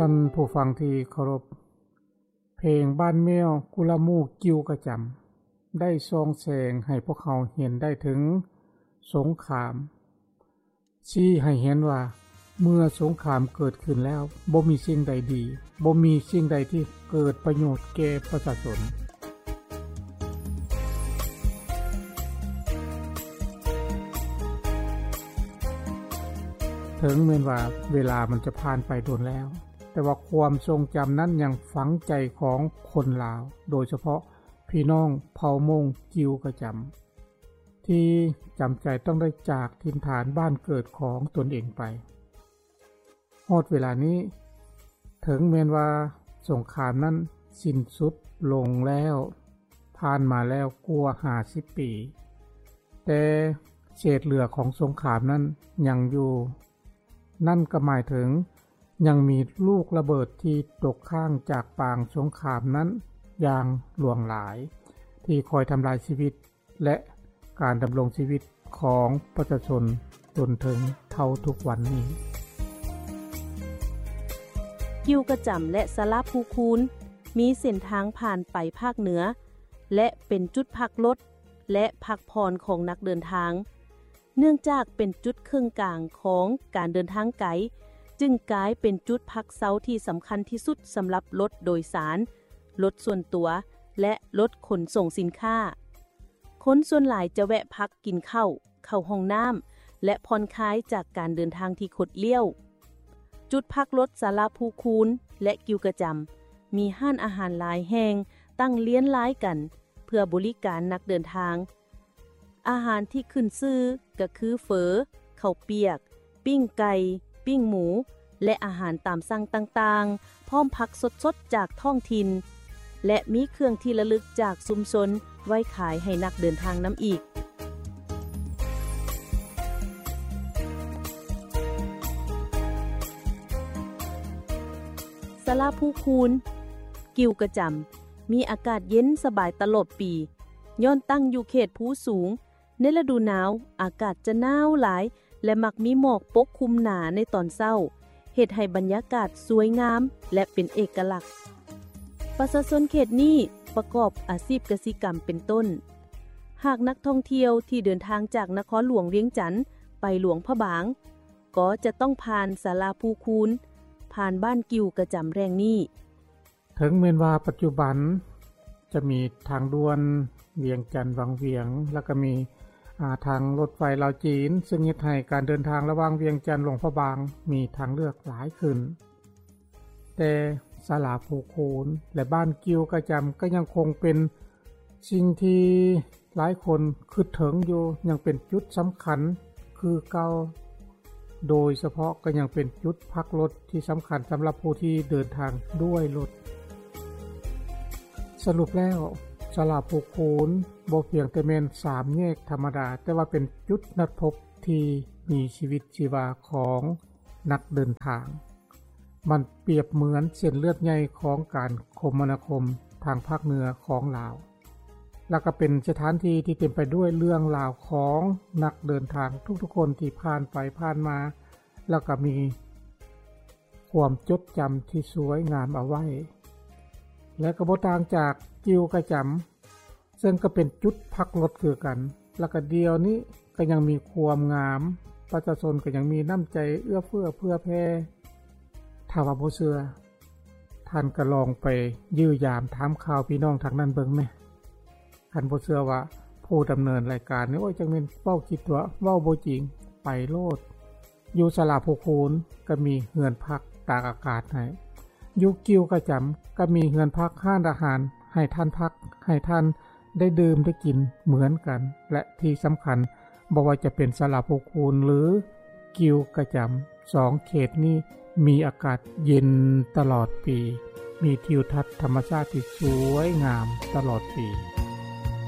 ທ່ານຜູ້ຟັງທີ່ເຄົາລົບ, ເພງບ້ານແມວ ກຸລະໝູ່ ກິວກະຈຳ ໄດ້ສ່ອງແສງໃຫ້ພວກເຮົາເຫັນໄດ້ເຖິງສົງຄາມ, ຊີ້ໃຫ້ເຫັນວ່າເມື່ອສົງຄາມເກີດຂຶ້ນແລ້ວ ບໍ່ມີສິ່ງໃດດີ, ບໍ່ມີສິ່ງໃດທີ່ເກີດປະໂຫຍດແກ່ປະຊາຊົນ. ເຖິງແມ່ນວ່າເວລາມັນຈະຜ່ານໄປດົນແລ້ວ, ແຕ່ວ່າຄວາມຊົງຈຳນັ້ນຍັງຝັງໃຈຂອງຄົນລາວ, ໂດຍສະເພາະພີ່ນ້ອງເຜົ່າມົ້ງ ກິວກະຈຳ ທີ່ຈຳໃຈຕ້ອງໄດ້ຈາກຖິ່ນຖານບ້ານເກີດຂອງຕົນເອງໄປ. ຮອດເວລານີ້, ເຖິງແມ່ນວ່າສົງຄາມນັ້ນສິ້ນສຸດລົງແລ້ວ, ຜ່ານມາແລ້ວກວ່າຫ້າສິບປີ, ແຕ່ເສດເຫຼືອຂອງສົງຄາມນັ້ນຍັງຢູ່. ນັ້ນກໍໝາຍເຖິງຍັງມີລູກລະເບີດທີ່ຕົກຄ້າງຈາກປາງສົງຄາມນັ້ນຢ່າງຫຼວງຫຼາຍ, ທີ່ຄອຍທຳລາຍຊີວິດ ແລະ ການດຳລົງຊີວິດຂອງປະຊາຊົນຈົນເຖິງເທົ່າທຸກວັນນີ້. ກິວກະຈຳ ແລະ ສາລາພູຄູນ ມີເສັ້ນທາງຜ່ານໄປພາກເໜືອ ແລະ ເປັນຈຸດພັກລົດ ແລະ ພັກຜ່ອນຂອງນັກເດີນທາງ. ເນື່ອງຈາກເປັນຈຸດເຄິ່ງກາງຂອງການເດີນທາງໄກ, ຈຶ່ງກາຍເປັນຈຸດພັກເຊົາທີ່ສຳຄັນທີ່ສຸດສຳລັບລົດໂດຍສານ, ລົດສ່ວນຕົວ ແລະ ລົດຂົນສົ່ງສິນຄ້າ. ຄົນສ່ວນຫຼາຍຈະແວະພັກກິນເຂົ້າ, ເຂົ້າຫ້ອງນ້ຳ ແລະ ຜ່ອນຄາຍຈາກການເດີນທາງທີ່ຄົດລ້ຽວ. ຈຸດພັກລົດສາລາພູຄູນ ແລະ ກິວກະຈຳ ມີຮ້ານອາຫານຫຼາຍແຫ່ງຕັ້ງລຽນລາຍກັນເພື່ອບໍລິການນັກເດີນທາງ. ອາຫານທີ່ຂຶ້ນຊື່ກໍຄືເຝີ, ເຂົ້າປຽກ, ປີ້ງໄກ່, ປີ້ງໝູ ແລະ ອາຫານຕາມສັ່ງຕ່າງໆ, ພ້ອມຜັກສົດໆຈາກທ້ອງຖິ່ນ ແລະ ມີເຄື່ອງທີ່ລະລຶກຈາກຊຸມຊົນໄວ້ຂາຍໃຫ້ນັກເດີນທາງນຳອີກ. ສາລາພູຄູນ, ກິວກະຈຳ ມີອາກາດເຢັນສະບາຍຕະຫຼອດປີ, ຍ້ອນຕັ້ງຢູ່ເຂດພູສູງ, ໃນລະດູໜາວ ອາກາດຈະໜາວຫຼາຍ ແລະ ມັກມີໝອກປົກຄຸມໜາໃນຕອນເຊົ້າ, ເຮັດໃຫ້ບັນຍາກາດສວຍງາມ ແລະ ເປັນເອກະລັກ. ປະຊາຊົນເຂດນີ້ປະກອບອາຊີບກະສິກຳເປັນຕົ້ນ. ຫາກນັກທ່ອງທ່ຽວທີ່ເດີນທາງຈາກນະຄອນຫຼວງວຽງຈັນໄປຫຼວງພະບາງ, ກໍຈະຕ້ອງຜ່ານສາລາພູຄູນ, ຜ່ານບ້ານກິວກະຈຳແຫ່ງນີ້. ເຖິງແມ່ນວ່າປັດຈຸບັນຈະມີທາງດ່ວນວຽງຈັນວັງວຽງ ແລ້ວກໍມີ ອາ ທາງລົດໄຟລາວຈີນ, ເຊິ່ງເຮັດໃຫ້ການເດີນທາງລະຫວ່າງວຽງຈັນ-ຫຼວງພະບາງມີທາງເລືອກຫຼາຍຂຶ້ນ, ແຕ່ສາລາພູຄູນ ແລະ ບ້ານກິວກະຈຳກໍຍັງຄົງເປັນສິ່ງທີ່ ຫຼາຍຄົນຄິດເຖິງຢູ່ ຍັງເປັນຈຸດສຳຄັນຄືເກົ່າ, ໂດຍສະເພາະກໍຍັງເປັນຈຸດພັກລົດທີ່ສຳຄັນສຳລັບຜູ້ທີ່ເດີນທາງດ້ວຍລົດ. ສະຫຼຸບແລ້ວ, ສາລາພູຄູນບໍ່ພຽງແຕ່ແມ່ນສາມແຍກທຳມະດາ, ແຕ່ວ່າເປັນຈຸດນັດພົບທີ່ມີຊີວິດຊີວາຂອງນັກເດີນທາງ. ມັນປຽບເໝືອນເສັ້ນເລືອດໃຫຍ່ຂອງການຄົມມະນາຄົມທາງພາກເໜືອຂອງລາວ, ແລ້ວກໍເປັນສະຖານທີ່ທີ່ເຕັມໄປດ້ວຍເລື່ອງລາວຂອງນັກເດີນທາງທຸກໆຄົນທີ່ຜ່ານໄປຜ່ານມາ, ແລ້ວກໍມີຄວາມຈົດຈຳທີ່ສວຍງາມເອົາໄວ້, ແລະ ກໍບໍ່ຕ່າງຈາກກິວກະຈຳ ເຊິ່ງກໍເປັນຈຸດພັກລົດຄືກັນ, ແລ້ວກໍດຽວນີ້ກໍຍັງມີຄວາມງາມ, ປະຊາຊົນກໍຍັງມີນ້ຳໃຈເອື້ອເຟື້ອເຜື່ອແຜ່. ຖ້າວ່າບໍ່ເຊື່ອ, ທ່ານກໍລອງໄປຢ້ຽມຢາມຖາມຂ່າວພີ່ນ້ອງທາງນັ້ນເບິ່ງແດ່. ຄັນບໍ່ເຊື່ອວ່າຜູ້ດຳເນີນລາຍການນີ້, ໂອ້ຍ, ຈັກແມ່ນເວົ້າຂີ້ຕົວະ, ເວົ້າບໍ່ຈິງ, ໄປໂລດ. ຢູ່ສາລາພູຄູນກໍມີເຮືອນພັກຕາກອາກາດໃຫ້, ຢູ່ກິວກະຈຳກໍມີເຮືອນພັກຮ້ານອາຫານໃຫ້ທ່ານພັກ, ໃຫ້ທ່ານໄດ້ດື່ມໄດ້ກິນເໝືອນກັນ, ແລະ ທີ່ສຳຄັນ ບໍ່ວ່າຈະເປັນສາລາພູຄູນ ຫຼື ກິວກະຈຳ, ສອງເຂດນີ້ມີອາກາດເຢັນຕະຫຼອດປີ, ມີທິວທັດທຳມະຊາດທີ່ສວຍງາມຕະຫຼອດປີ.